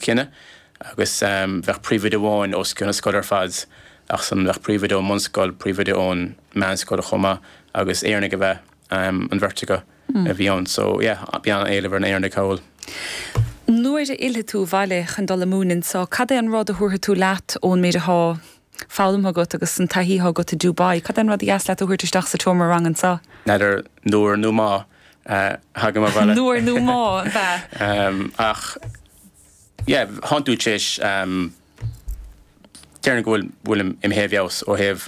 Cinneadh agus bheadh príomhoide amháin os cionn na scoile ar fad ach san bheadh príomhoide ón mbunscoil, príomhoide ón meánscoil chomh maith agus Éireannaigh ab ea an bheirt acu a bhí ann. So yeah, bhí an-éileamh ar na Éireannaigh thall. Nuair a fhillfidh tú abhaile chun dul ag múineadh anso, cad é an rud a thabharfaidh tú leat ón méid atá foghlamtha agat agus an taithí atá agat i Dubai? Cad é an rud a dheas leat a thabhairt isteach sa tseomra ranga anso? N'fheadar nuair nó má thagaim abhaile. Nuair nó má, ab ea? Ach yeah, thánn tú tar éis, déarfainn go bhfuil, bhfuilim imithe i bhfeabhas ó thaobh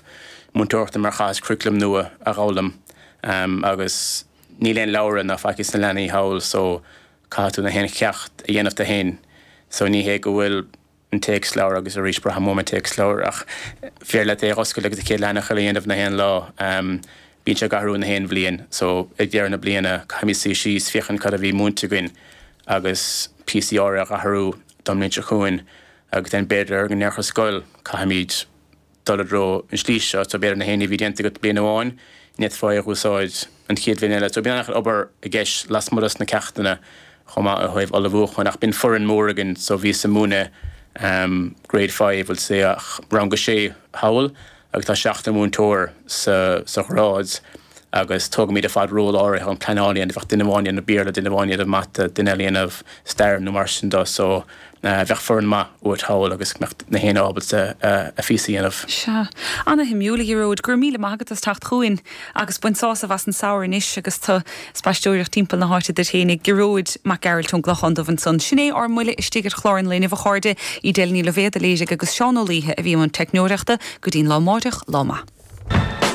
múinteoireachta mar chaitheas curriculum nua a dh'fhoghlaim agus níl aon leabhra ná faic ag na leanaí thall so caithfidh tú na haon cheacht a dhéanamh tú fhéin so ní hé go bhfuil an téacsleabhar agus arís braithim uaim an téacsleabhar ach féidir leat é a dh'oscailt agus an chéad leathanach eile a dhéanamh na haon lá. Bíonn sé ag athrú na haon bhliain so ag deireadh na bliana caithfimid suí síos féachaint cad a bhí múinte againn agus píosaí áirithe a dh'athrú don mbliain seo chugainn agus then b'fhéidir go ndéarfadh an scoil caithfimid dul i dtreo an slí seo, so b'fhéidir na haon ní a bhí déanta agat bliain amháin, ní fhéadfá é a dh'úsáid an chéad bhliain eile. So bíonn an-chuid obair i gceist lasmuigh dos na ceachtanna chomh maith ó thaobh ullmhúcháin ach bíonn foireann mór againn so bhíos ag múineadh grade 5 bhuel say ach rang a sé thall agus tá seachtar múinteoir sa sa ghrád agus tógaimid ar fad ról áirithe an pleanáil a dhéanamh, bheadh duine amháin ag déanamh Béarla, duine amháin ag déanamh Mata, duine eile ag déanamh Stair nó mar sin de so bheadh foireann maith uait thall agus go mbeadh na héinne ábalta a phíosa a dhéanamh. Sea. Ana-shuimiúil, a Ghearóid. Go raibh míle maith agat as teacht chugainn agus bain sásamh as an samhradh anois agus tú ag spaisteoireacht timpeall na háite duit fhéinig. Gearóid Mac Gearailt ón gClochán Dubh ansan. Sin é ár mbuille istigh ar chlár an lae inniu, a chairde. Edel Ní Loibhéad a léirigh agus Seán Ó Laoithe a bhí i mbun teicneoireachta. Go dtí'n lá amáireach, lá maith.